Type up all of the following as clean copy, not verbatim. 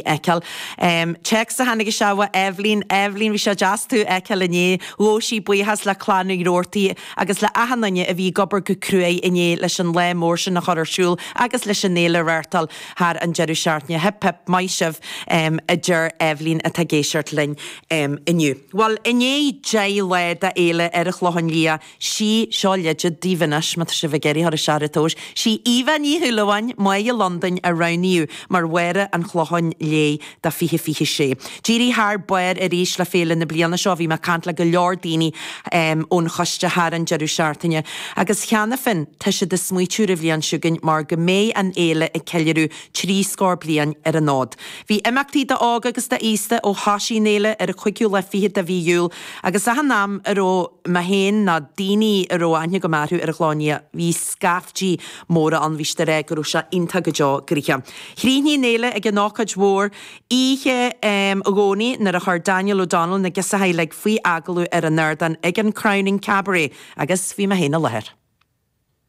Fheiceáil. Téacs a tháinig isteach ó Eibhlín, Eibhlín, bhí sé deas tú a fheiceáil inné. Ghabh sí buíochas le Clann Uí Rabhartaigh agus le achan duine a bhí ag obair go cruaidh inné leis an lá mór sin a chur ar siúl agus leis an fhéile a reáchtáil thar an deireadh seachtaine. Hip hip, maith sibh, a deir Eibhlín atá ag éisteacht linn inniu. Bhuel, i ndiaidh 10 lá d'fhéile ar an Chlochán Liath, Sí, seo leide daoibh anois, má tá sibh ag iarraidh a chur isteach ar an tomhas, sí Eva Ní Shúilleabháin, Máighe Londain, a roghnaíodh mar Mháire an Chlocháin Léith do 2026. D'éirigh thar barr arís le féile na bliana seo, bhí mé ag caint le go leor daoine ón choiste thar an deireadh seachtaine agus cheana féin tá siad ag smaoitiú ar an bhliain seo chugainn mar go mbeidh an fhéile ag ceiliúradh 30 scór bliain ar an fhód. Bhí imeachtaí d'óg agus d'aosta ó thoisigh an fhéile ar an chúigiú lá fichead de mhí Iúil agus achan am a raibh mé féin ná daoine a raibh aithne agam orthu ar an Chlochán Liath, bhí scaiftí móra ann, bhí siad ag rá go raibh sé iontach go deo gnoitheach. Chríochnaigh an fhéile ag an ócáid mhór oíche Dhomhnaigh nuair a chuir Daniel O'Donnell na girseachaí uilig faoi agallamh ar an ardán ag an Crowning Cabaret agus bhí mé féin i láthair.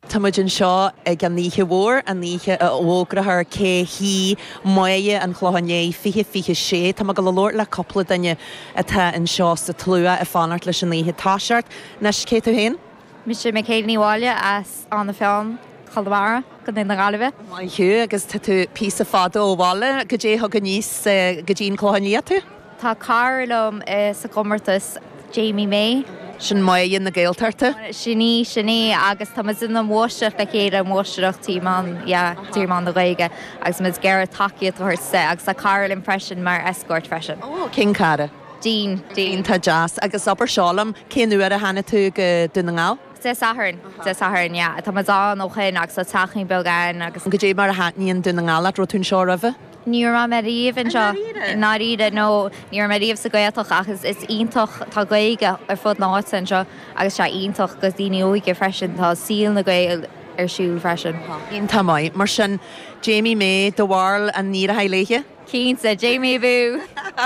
Tá muid anseo ag an oíche mhór, an oíche a bhfógrófar cé hí Máire an Chlocháin Léith 2026. Tá mé ag dul a labhairt le cúpla duine atá anseo sa tslua ag fanacht leis an oíche toiseacht. Anois, cé tú féin? Mise Michaela Ní Mháille as Áth na Feann, Conamara, Contae na Gaillimhe. Maith thú, agus tá tú píosa fada ó bhaile. Goidé a thug aníos go dtí an Clochán Liath tú? Tá cara liom sa gcomórtas, Jamie May. Sin Máire na Gaeltachta. Sin í, sin í, agus tá muid ina mháistreacht le chéile, máistreacht trí mheán, yeah, trí mheán na Gaeilge agus muid ag iarraidh tacaíocht a thabhairt di agus tá cara linn freisin mar escort freisin. Ó, cén cara? Dean, Dean. Iontach deas. Agus abair seo liom, cén uair a tháinig tú go Dún na nGall? Dé Sathairn, Dé Sathairn, yeah. Tá muid ann ó shin agus tá teachín beag ann agus. Goidé mar a thaitníonn Dún na nGall leat? Raibh tú anseo roimhe? Ní raibh mé riamh anseo. I ndáiríre? No, ní raibh mé riamh sa Ghaeltacht ach is is iontach, tá Gaeilge ar fud na háite anseo agus sé iontach do daoine óige freisin, tá saol na Gael ar siúl freisin. Iontach maith. Mar sin, Jamie May, do bharúil an n-éireoidh léithe? Cinnte, Jamie abú!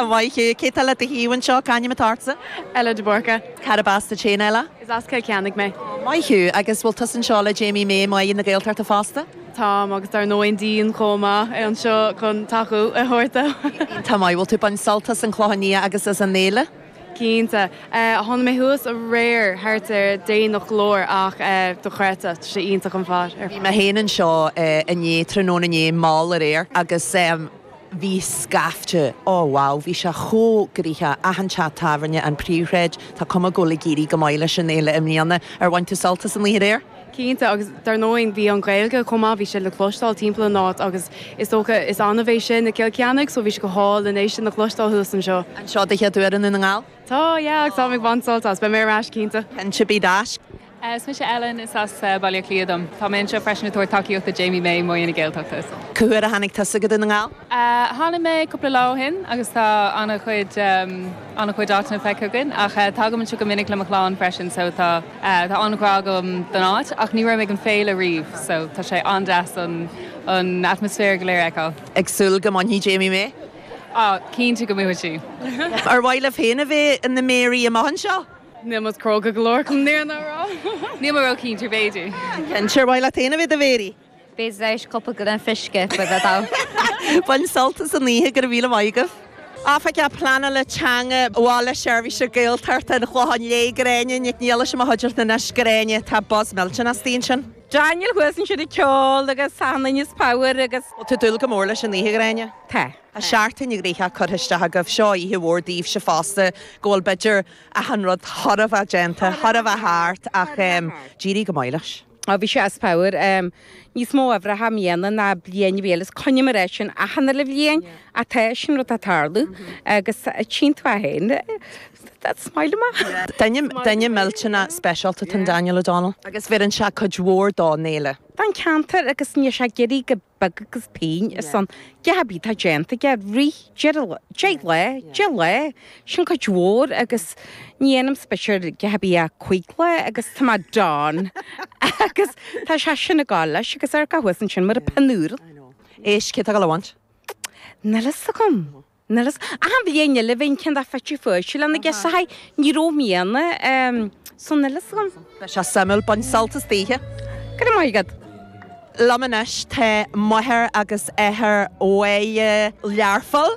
Maith thú. Cé tá le do thaobh anseo? C'ainm atá ortsa? Ella de Búrca. Cárb as duit féin, Ella? Is as Cill Ceannaigh mé. Maith thú. Agus bhfuil tusa anseo le Jamie May, Máire na Gaeltachta fosta? Táim, agus dar ndóigh Dean chomh maith anseo chun tacú a thabhairt dó. Iontach maith. Bhfuil tú ag baint sult as an Chlochán Liath agus as an fhéile? Cinnte. Tháinig mé thuas aréir thart ar déanach go leor ach dochreidte, tá sé iontach an fad ar Bhí mé féin anseo inné, tráthnóna inné, mall aréir agus bhí scaifte, oh wow, bhí sé chomh gnoitheach, achan teach tábhairne, an príomhshráid, tá cuma go bhfuil ag éirí go maith leis an fhéile i mbliana. Ar bhain tú sult as an oíche aréir? Cinnte, agus dar ndóigh bhí an Ghaeilge chomh maith, bhí sé le cloisteáil timpeall an áit agus is dócha is annamh é sin i gCill Ceannaigh so bhí sé go hálainn é sin a chloisteáil thuas anseo. An seo do chéad uair i nDún na nGall? Tá, yeah, agus táim ag baint sult as, beidh mé ar ais cinnte. Cinnte, bí ar ais. Is mise Ellen, is as Baile Átha Cliath dom. Tá mé anseo freisin ag tabhairt tacaíocht do Jamie May, Máire na Gaeltachta. Cá huair a tháinig tusa go Dún na nGall? Tháinig mé cúpla lá ó shin agus tá an-chuid an-chuid áiteanna feicthe againn ach tagaim anseo go minic le mo chlann freisin so tá tá an-ghrá agam don áit ach ní raibh mé ag an féile riamh so tá sé an-deas an an atmaisféar go léir a fheiceáil. Ag súil go mbainfidh Jamie May? Ah, cinnte go mbuafaidh sí. Ar mhaith libh féin a bheith ina Méaraí amach anseo? Níl muid cróga go leor chun an fhírinne a rá. Níl mé ró-chinnte, b'fhéidir. Cinnte, ar mhaith leat féin a bheith i do Mhéaraí? B'fhéidir tar éis cúpla gloine fuisce, beidh mé dall. Bain sult as an oíche, go raibh míle maith agaibh. Oifigeach Pleanála Teanga Bhaile Seirbhíse Gaeltachta an Chlocháin Léith, Gráinne Nic Niallais i mo chuideachta anois. Gráinne, tá buzz millteanach istigh ansin. Daniel thuas ansin ag ceol agus achan duine as pabhar agus. Bhfuil tú ag dúil go mór leis an oíche, Ghráinne? Tá. Tá seachtain ghnoitheach curtha isteach agaibh. Seo oíche mhór daoibhse fosta, go bhfuil b'fhéidir achan rud chóir a bheith déanta, chóir a bheith thart ach d'éirigh go maith leis. Ó bhí sé as pabhar. Níos mó uimhreacha i mbliana ná bliain a bhí eile is coinním ar é sin achan uile bhliain ach tá sin rud ag tarlú agus tchíonn tú é féin. That's smile amach. Duine, duine millteanach speisialta atá in Daniel O'Donnell. Agus bheireann sé cuid mhór don fhéile. Don cheantar agus níl sé ag iarraidh go beag agus pingin ar son gach ar bith atá déanta aige rith deich lá, 10 lá, sin cuid mhór agus ní dhéanaim spéis ar gach ar bith ach cuig lá agus tá mé done agus tá sé sin ag gabháil leis agus ar gach thuas ansin mar a pinúr. Éist, cé tá ag dul a bhaint? Níl fhios agam. Níl fhios. Achan bhliain eile bhíonn ceann de fite fuaite lena gciseachaí. Ní raibh i mbliana, so níl fhios agam. Beidh sé suimiúil, bain sult as d'oíche. Go raibh maith agat. Liom anois tá máthair agus athair Mháire Learpholl.